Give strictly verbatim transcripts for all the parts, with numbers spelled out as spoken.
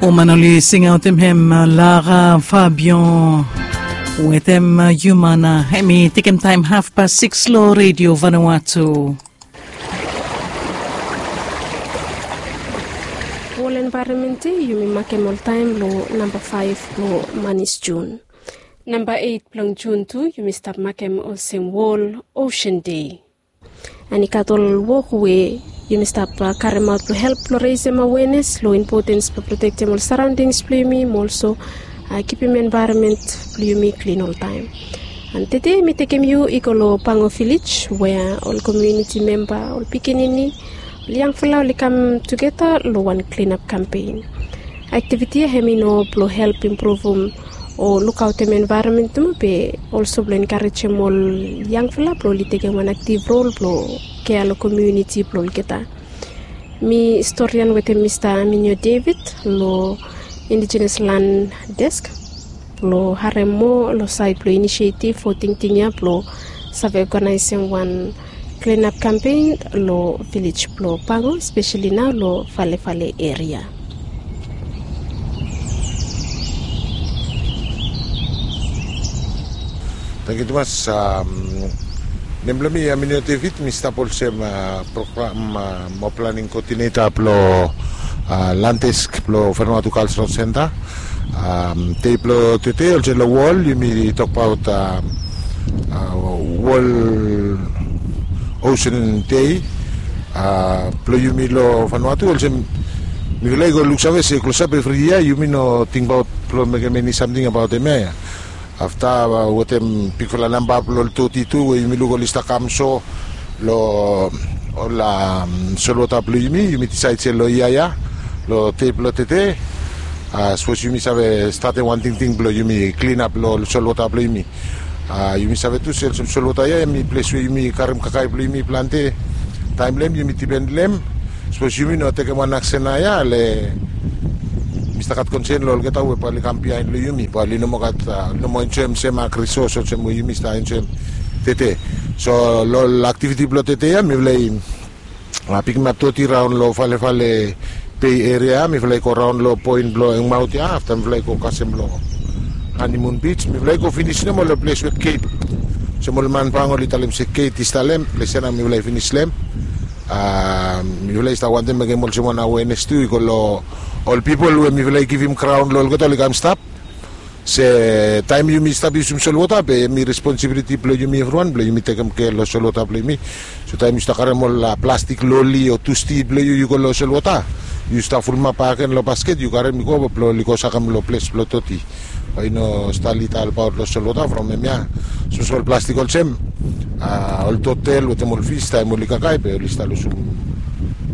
Woman oli singaotem hem Lara Fabian wetem Humana. Hemi tekem taem hafpas sikis lo Redio Vanuatu. Wol envaeronmen dei yumi makem oltaem lo namba faef blo manis Jun. Namba eit blong Jun tu yumi stap makem olsem Wol Osen Dei. An i gat ol wok we yumi stap karemaot blo help blo resem awenes lo impotens blo protektem ol saraondings blo yumi mo olso kipim envaeronmen blo yumi klin oltaem. An tede mi tekem yu i go lo Pango Vilej we ol komuniti memba, ol pikinini, ol yangfala oli kam tugeta lo wan klinap kampen. Aktiviti ya hem i no blo help impruvum o lukaotem envaeronmen nomo be olso blo enkarejem ol yangfala blo oli tekem wan aktiv rol blo kea lo komuniti blo olgeta. Mi storian wetem Mista Aminio David lo Indigenous Land Desk blo harem moa lo saed blo inisietiv o tingting ya blo save oganaesem wan klinap kampen lo vilej blo Pango, espeseli nao lo Falefale eria. Tangkiu tumas. Nem blo mi Aminio David, mi stap olsem program mo planing koodineta blo Land Desk blo Vanuatu Cultural Center. Dei blo tede olsem lo wol yumi tokbaot Wol Osen Dei blo yumi lo Vanuatu, olsem mifala i go luksave se klosap evri yia yumi no tingbaot blo mekem eni samting abaot hemia ya. Afta wetem bigfala namba blo ol doti tu we yumi luk oli stap kam so lo ol solwota blo yumi, yumi disaed se lo yia ya lo dei blo tede sapos yumi save statem wan tingting blo yumi klinap lo ol solwota blo yumi. Yumi save tu se olsem solwota ya hemi ples we yumi karem kakae blo yumi plante. Taem lo hem yumi dipen lo hem. Sapos yumi no tekem wan aksen naoia le mi stap gat konsen lo olgeta we bae oli kam biaen lo yumi, bae oli no moa gat, no moa enjoem sem agrisos olsem we yumi stap enjoem tede. So lo ol aktiviti blo tede ya mifala i pikimap doti raon lo Falefale Bei eria ya, mifala i go raon lo poen blo Engmaot ya, afta mifala i go kasem lo Hanimun Bij, mifala i go finis nomo lo ples we geit, olsem ol man Pango oli talem se geit i stap lo hem, ples ya nao mifala i finis lo hem. Mifala i stap wantem mekem olsem wan awenes tu i go lo ol pipol we mifala i givim graon lo olgeta oli kam stap. Se taem yumi stap yusum solwota be hemi responsibiliti blo yumi evriwan blo yumi tekem kea lo solwota blo yumi. So taem yu stap karem ol plastik loli o tusti blo yu yu go lo solwota, yu stap fulumap bakegen lo basket yu karem i go blo oli go sakem lo ples blo doti. Bae i no stap lida olbaot lo solwota from hemia. Sapos ol plastik olsem ol totel wetem ol fis taem oli kakae be oli stap lusum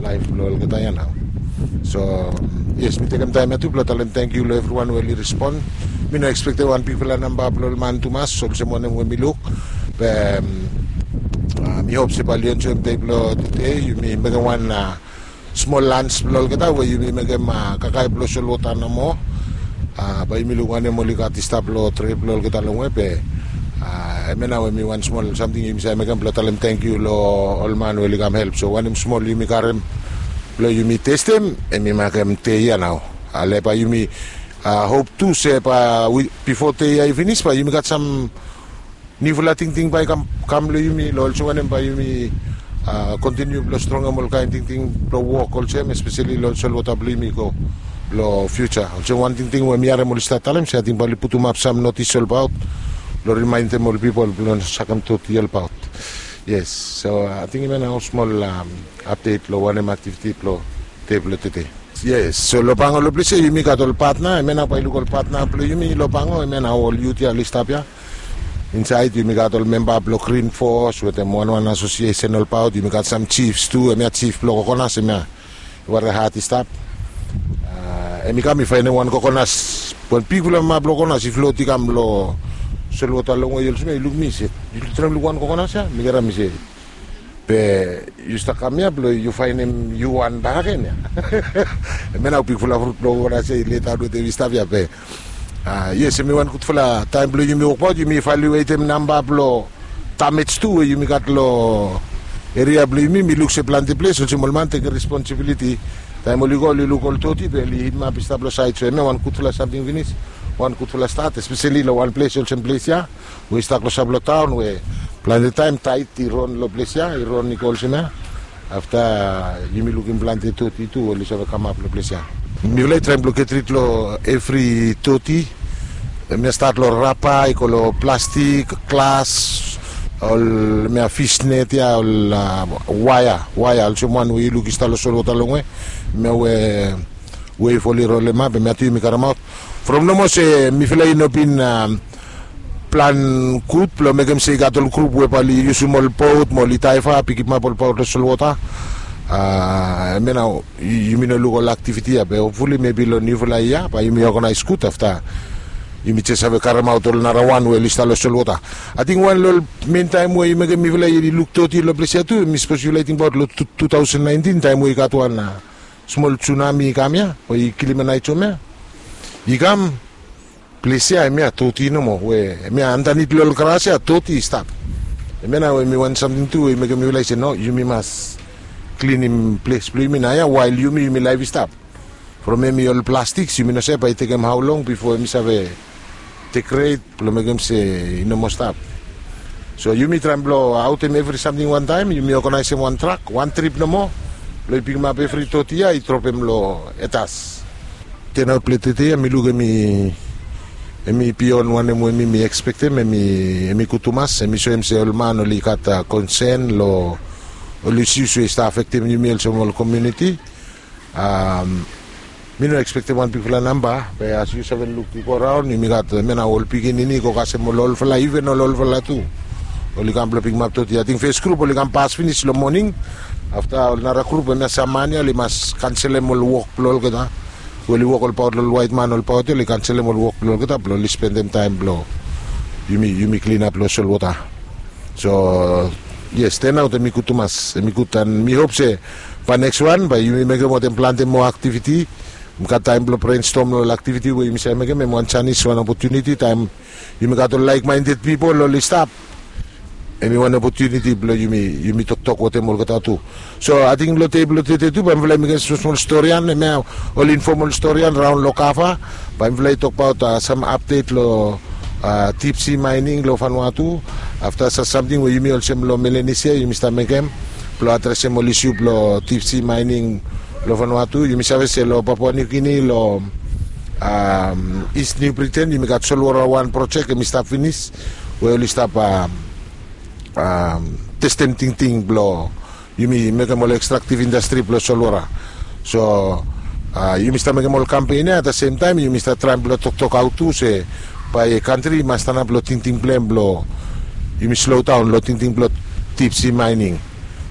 laef blo olgeta ya nao. So yes, mi tekem taem ya tu blo talem tangkiu lo evriwan we oli respon. Mi no ekspektem wan bigfala namba blo ol man tumas olsem wanem we mi luk. Be mi hop se bae oli enjoem dei blo tede, yumi mekem wan smol lans blo olgeta we yumi mekem kakae blo solwota nomo. Bae yumi luk wanem oli gat i stap lo trep blo olgeta longwe be hemia nao we mi wan smol samting yumi save mekem blo talem tangkiu lo ol man we oli kam help. So wanem smol yumi karem blo yumi testem hemi makem dei ya nao. Ale bae yumi hop tu se bae bifo dei ya i finis bae yumi gat sam niufala tingting bae i kam, kam lo yumi lo olsem wanem bae yumi kontiniu blo strongem ol kaen tingting blo wok olsem espeseli lo ol solwota blo yumi go lo fiuja. Olsem wan tingting we mi harem oli stap talem se ating bae oli putumap sam notis olbaot blo rimaendem ol pipol blo no sakem doti olbaot. Yes, so ating hemia nao smol apdet lo wanem aktiviti blo dei blo tede. Yes, so lo Pango lo ples ya yumi gat ol patna, hemia nao bae yu luk ol patna blo yumi lo Pango, hemia nao ol yut ya oli stap ya. Insaed yumi gat ol memba blo Green Force wetem wanwan asosiesen olbaot, yumi gat sam jifs tu, hemia jif blo Kokonas hemia i ware hat i stap. Hemi kam i faenem wan kokonas, wan bigfala mama blo kokonas i flot i kam lo solwota longwe olsem ya, i luk mi se, yu traem luk wan kokonas ya? Mi karem mi se, be yu stap kam ya blo yu faenem yu wan bakegen ya. Hemia nao bigfala frut blo kokonas ya i letaot wetem i stap ya be. Yes, hemi wan gudfala taem blo yumi wokbaot, yumi valuetem namba blo damej tu we yumi gat lo eria blo yumi. Mi luk se plante ples olsem ol man tekem responsibiliti Taem oli go oli luk ol toti be oli hidimap i stap long saed. So hemia wan gudfala samting finis, wan gudfala stat, espeseli long wan ples olsem ples ya we i stap klosap long taon we plante taem taed i ron long ples ya, i ron i go olsem ya. Afta yumi lukim plante toti tu oli save kamap long ples ya. Mifala i traem blong get rid long evri toti. Hemia stat long rapa i go long plastik, glas, ol hemia fisnet ya, ol waea, waea olsem wan we yu luk i stap long solwota longwe. Hemia we wef oli rolemap, hemia tu yumi karemaot. From nomo se mifala i no bin plan gud blong mekem se i gat ol grup we bae oli yusum ol bot mo oli daeva pikimap ol bot long solwota. Hemia nao yumi no luk ol aktiviti ya, be hopfuli mebi long niufala yia bae yumi oganaes gud afta yumi jes save karemaot ol nara wan we oli stap long solwota. Ating wan long ol men taem we i mekem mifala i luk toti long ples ya tu, mi sapos yufala i tingbaot long tu taosen naentin taem we i gat wan smol junami i kam ya we i kilim naet hom ya, i kam ples ya hemia toti nomo, we hemia andanit long ol gras ya toti i stap. Hemia nao hemi wan samting tu we i mekem yufala i se no, yumi mas klinim ples blong yumi nao ya wael yumi, yumi laef i stap. From hemi ol plastiks yumi no save bae i tekem hao long bifo hemi save degrade blong mekem se i no moa stap. So yumi traem blong aotem evri samting wantaem, yumi oganaesem wan trak wan trip nomo blong i pikimap evri toti ya i dropem long etas. Tenaot blong tete ya mi luk hemi bion wanem we mi mi ekspektem, hemi gud tumas, hemi soem se ol man oli gat konsen long ol isius we i stap afektem yumi olsem ol komuniti. Mi no ekspektem wan bigfala namba, be as yu save luk i go raon yumi gat hemia nao ol pikinini i go kasem ol olfala, iven ol olfala tu oli kam blong pikimap toti. Ating fes grup oli kam pas finis long moning. Afta ol nara grup hemia sam man ya oli mas kanselem ol wok blong olgeta we oli wok olbaot long ol waet man olbaot ya, oli kanselem ol wok blong olgeta blong oli spendem taem blong yumi klinap long solwota. So yes, tenaot hemi gud tumas, hemi gud, an mi hop se bae neks wan bae yumi mekem wantaem plante moa aktiviti. Mi gat taem blong brenstom long ol aktiviti we yumi save mekem, hemi wan janis, wan opotuniti taem yumi gat ol laek maended pipol oli stap. Hemi wan opotuniti blong yumi toktok wantaem olgeta tu. So ating long dei blong tede tu bae mifala i mekem smosmol storian, hemia ol infomol storian raon long kava. Bae mifala i tokbaot sam apdet long dipsi maening long Vanuatu. Afta sam samting we yumi olsem long Melanesia yumi stap mekem blong adresem ol isiu blong dipsi maening long Vanuatu. Yumi save se long Papua Niu Gini, long East New Britain, yumi gat solwora wan projek hemi stap finis we oli stap testem tingting blong yumi mekem ol ekstraktiv indastri blong solwora. So yumi stap mekem ol kampen ya, at the same time yumi stap traem blong toktok aotu se bae kantri i mas stanap long tingting blong hem blong yumi slodaon long tingting blong dipsi maening.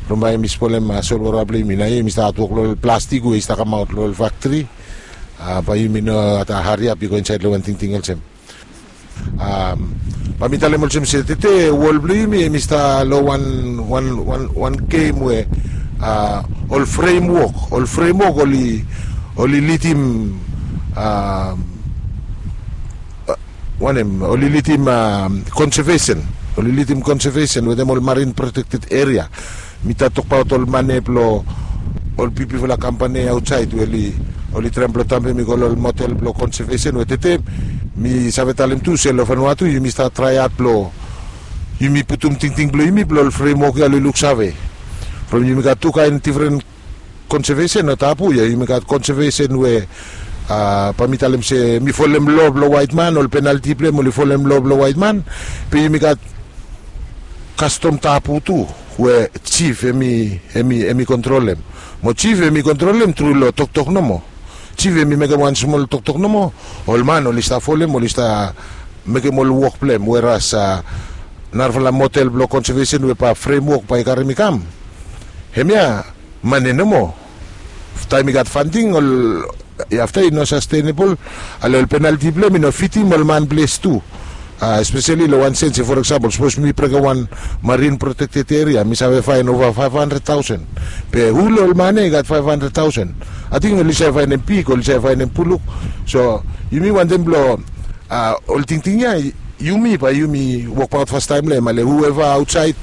From bae yumi spolem solwora blong yumi, nao yumi stap hatwok long ol plastik we i stap kamaot long ol faktri. Bae yumi no hariap i go insaed long wan tingting olsem. Bae mi talem olsem se tede wol blong yumi hemi stap long wan, wan, wan gem we ol fremwok, ol fremwok oli, oli lidim wanem, oli lidim konsevesen, oli lidim konsevesen wetem ol marin protekted eria. Mi stap tokbaot ol mane blong ol bigfala kampani aotsaed we oli traem blong dampem i go long ol motel blong konsevesen we tede mi save talem tu se long Vanuatu yumi stap traeat blong yumi putum tingting blong yumi blong ol fremwok ya oli luksave. From yumi gat tu kaen difren konsevesen o tabu ya, yumi gat konsevesen we bae mi talem se hemi folem loa blong waet man, ol penalti blong hem oli folem loa blong waet man. Be yumi gat kastom tabu tu we jif hemi, hemi kontrolem. Mo jif hemi kontrolem tru long toktok nomo. Jif hemi mekem wan smol toktok nomo, ol man oli stap folem, oli stap mekem ol wok blong hem, weras narafala motel blong konsevesen we bae fremwok bae i karem i kam, hemia mane nomo. Taem i gat fanting ol, afta i no sastenebol. Ale ol penalti blong hem i no fitim ol man ples tu. Espeseli long wan sens se for eksampol sapos mi brekem wan marin protekted eria mi save faen ova faef handred taosen. Be hu long ol man ya i gat faef handred taosen? Ating oli save faenem pig, oli save faenem buluk. So yumi wantem blong ol tingting ya yumi bae yumi wokbaot fastaem long hem, ale hueva aotsaed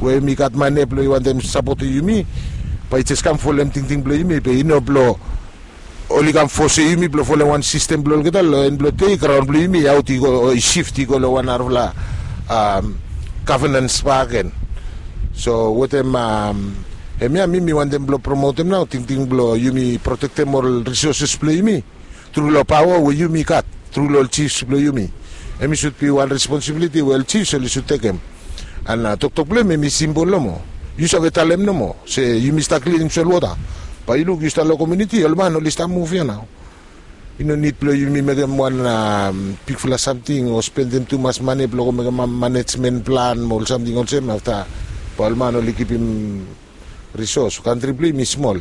we hemi gat mane blong i wantem sapotem yumi, Bae i jes kam folem tingting blong yumi, be i no blong oli kam fosem yumi blong folem wan sistem blong olgeta. Long en blong dei graon blong yumi i aot i go, o i sift i go long wan narafala gavnans bakegen. So wetem hemia mi mi wantem blong promotem nao tingting blong yumi protektem ol risoses blong yumi tru long paoa we yumi gat tru long ol jifs blong yumi. Hemi sud bi wan responsibiliti we ol jifs oli sud tekem. An toktok blong hem hemi simpol nomo. Yu save talem nomo se yumi stap klinim solwota. Bae yu luk yu stap long komuniti, ol man oli stap muv ia nao. I no nid blong yumi mekem wan bigfala samting o spendem tumas mane blong go mekem manejmen plan mo ol samting olsem afta bae ol man oli givim risos. Kantri blong yumi i smol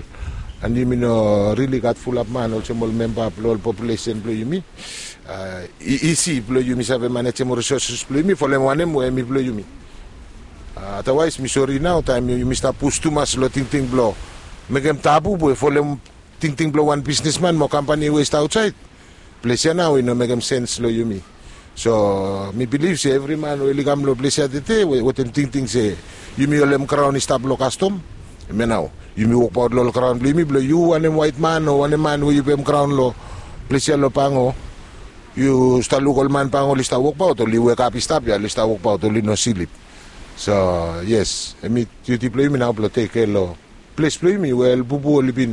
an yumi no rili gat fulap man olsem ol memba blong ol populesen blong yumi. I isi blong yumi save manejem ol risoses blong yumi folem wanem we hemi blong yumi. Adawaes mi sori nao taem yumi stap pus tumas long tingting blong mekem tabu we folem tingting blong wan bisnesman mo kampani we i stap aotsaed. Ples ia nao i no mekem sens long yumi. So mi bilif se evri man we oli kam long ples ia tede wetem tingting se yumi holem graon i stap long kastom. Hemia nao yumi wokbaot long ol graon blong yumi blong yu wanem waetman o wanem man we yu pem graon long ples ia long Pango. Yu stap luk ol man Pango oli stap wokbaot, oli wekap i stap ia, oli stap wokbaot, oli no slip. So yes, hemi diuti blong yumi nao blong tekea long ples blong yumi we ol bubu oli bin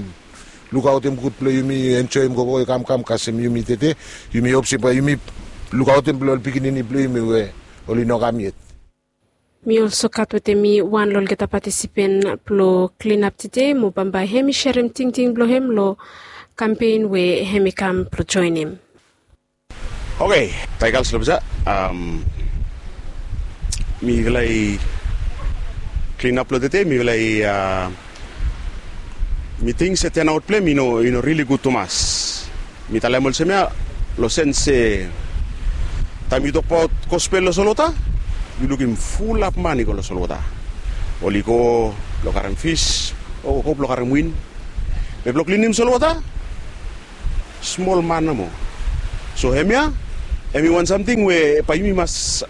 lukaotem gud blong yumi enjoem gogo i kamkam kasem yumi tede. Yumi hop se bae yumi lukaotem blong ol pikinini blong yumi we oli no kam yet. Mi olso gat wetem mi wan long olgeta patisipen blong klinap tede mo bambae hemi serem tingting blong hem long kampen we hemi kam blong joenem. Oke, tae gals long ples ia mifala i klinap long tede, mifala i mi ting se tenaot blong hem i no rili gud tumas. Mi talem olsem ia long sens se taem yu tokbaot gospel long solwota, yu lukim fulap man i go long solwota. Oli go blong karem fis o go blong karem win. Be blong klinim solwota smol man nomo. So hemia hemi wan samting we bae yumi mas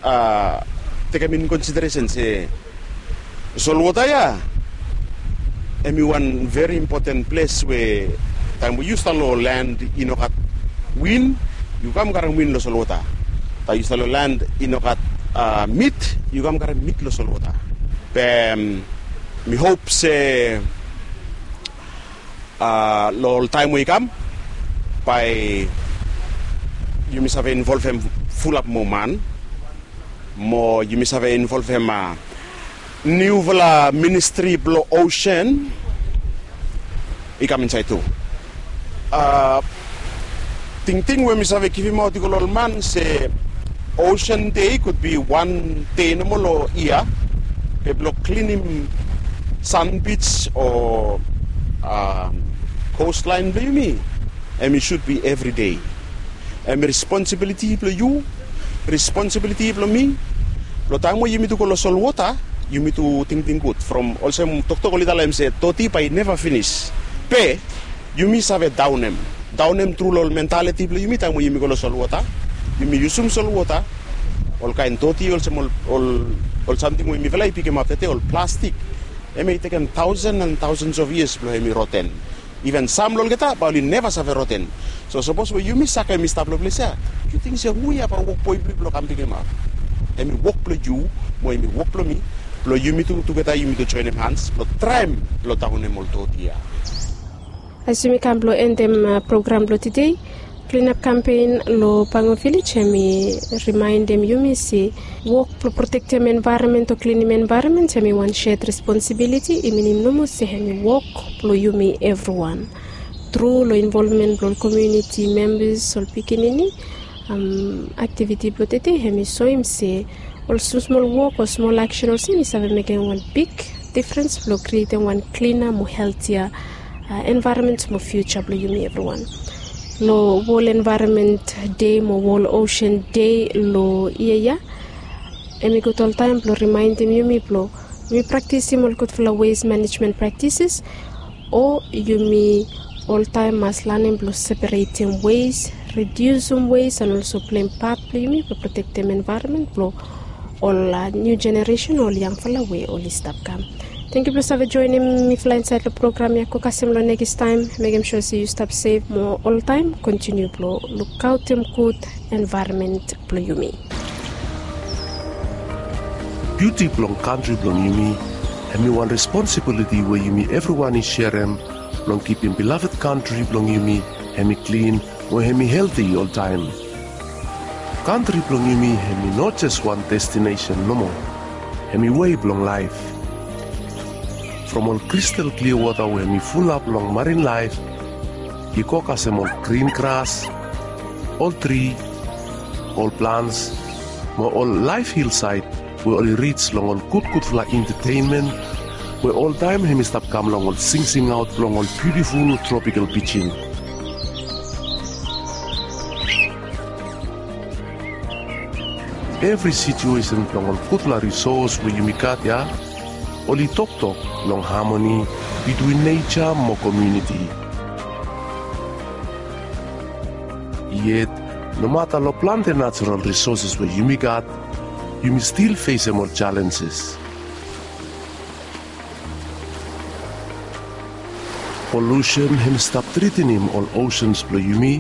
tekem in konsideresen se solwota ia hemi wan veri impoten ples we taem we yu stap long len i no gat win, yu kam karem win long solwota. Taem yu stap long len i no gat mit, yu kam karem mit long solwota. Be mi hop se long ol taem we i kam bae yumi save involvem fulap moa man mo yumi save involvem niufala ministri blong osen i kam insaed tu. Tingting we mi save givimaot i go long ol man se osen dei gud bi wan dei nomo long yia. Be blong klinim sanbij o kostlaen blong yumi hemi sud bi evridei. Hemi responsibiliti blong yu, responsibiliti blong mi. Blong taem we yumi tu go long solwota yumi tu tingting gud from olsem toktok oli talem se doti bae i neva finis. Be yumi save daonem daonem tru long ol mentaliti blong yumi taem we yumi go long solwota. Yumi yusum solwota olkaen doti olsem ol samting we mifala i pikimap tede ol plastik. Hemi tekem taosen an taosens of yias blong hemi roten. Iven sam long olgeta bae oli neva save roten. So sapos we yumi sakem i stap long ples ia, yu ting se hu ia bae wok blong yu blong kam pikimap? Hemi wok blong yu mo hemi wok blong mi blong yumi tu tugeta yumi tu joenem hans blong traem blong daonem ol doti ia. As yumi kam blong endem program blong tede, klinap kampen long Pango Vilej hemi rimaendem yumi se wok blong protektem envaeronmen o klinim envaeronmen hemi wan sed responsibiliti. I minim nomo se hemi wok blong yumi evriwan tru long involvmen blong ol komuniti membas, ol pikinini. Aktiviti blong tede hemi soem se ol smosmol wok o smol aksen olsem i save mekem wan big difrens blong krietem wan klina mo heltia envaeronmen mo fiuja blong yumi evriwan. Long Wol Envaeronmen Dei mo Wol Osen Dei long yia ya, hemi gud oltaem blong rimaendem yumi blong yumi praktisim ol gudfala wes manejmen praktises, o yumi oltaem mas lanem blong separetem wes, ridiusim wes an olso pleim pat blong yumi blong protektem envaeronmen blong ol niu jeneresen o ol yangfala we oli stap kam. Tangkiu blong save joenem mifala insaed long program ya. Go kasem long nekis taem. Mekem sua se yu stap sef mo oltaem kontiniu blong lukaotem gud envaeronmen blong yumi. Biuti blong kantri blong yumi hemi wan responsibiliti we yumi evriwan i serem blong kipim bilaved kantri blong yumi hemi klin mo hemi helti oltaem. Kantri blong yumi hemi no jes wan destinesen nomo. Hemi wei blong laef. From ol kristal klia wota we hemi fulap long marin laef, i go kasem ol grin gras, ol tri, ol plans, mo ol laef hilsaed we oli rij long ol gudgudfala entetenmen we oltaem hemi stap kam long ol singsingaot blong ol biutiful tropikal pijin. Evri situesen blong ol gudfala risos we yumi gat ya oli toktok long hamoni bitwin neja mo komuniti. Yet nomata long plante najerol risoses we yumi gat, yumi stil fesem ol jalenjes. Polusen hemi stap tretenem ol osens blong yumi.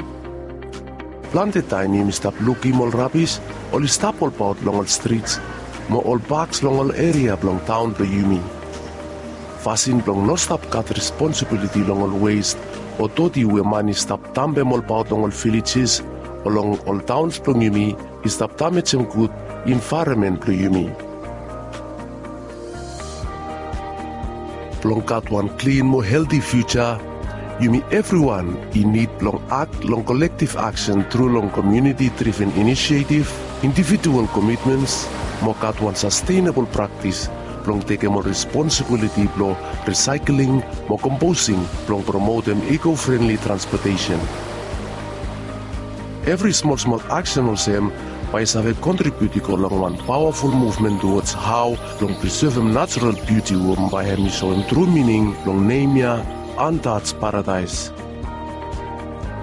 Plante taem yumi stap lukim ol rabis oli stap olbaot long ol strits mo ol paks long ol eria blong taon blong yumi. Fasin blong no stap gat responsibiliti long ol wes o doti we man i stap dambem olbaot long ol vilejes o long ol taons blong yumi i stap damejem gud envaeronmen blong yumi. Blong gat wan klin mo helti fiuja, yumi evriwan i nid blong akt long kolektiv aksen tru long komuniti driven inisietiv, individual komitmens, mo gat wan sastenebol praktis blong tekem ol responsibiliti blong risaekling mo komposing blong promotem eko-frenli transpotesen. Evri smolsmol aksen olsem bae i save kontribiut i go long wan pawaful muvmen tuwods hao blong prisevem najerol biuti we bae hemi soem tru mining blong nem ya, Untouched Paradise.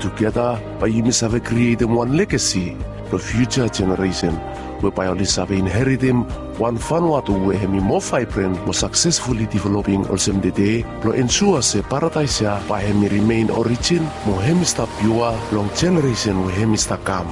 Tugeta bae yumi save krietem wan legasi blong fiuja jeneresen we bae oli save inheritem wan Vanuatu we hemi moa vaebren mo saksesfuli developing olsem tede, blong ensua se paradaes ya bae hemi rimen orijin mo hemi stap piua long jeneresen we hemi stap kam.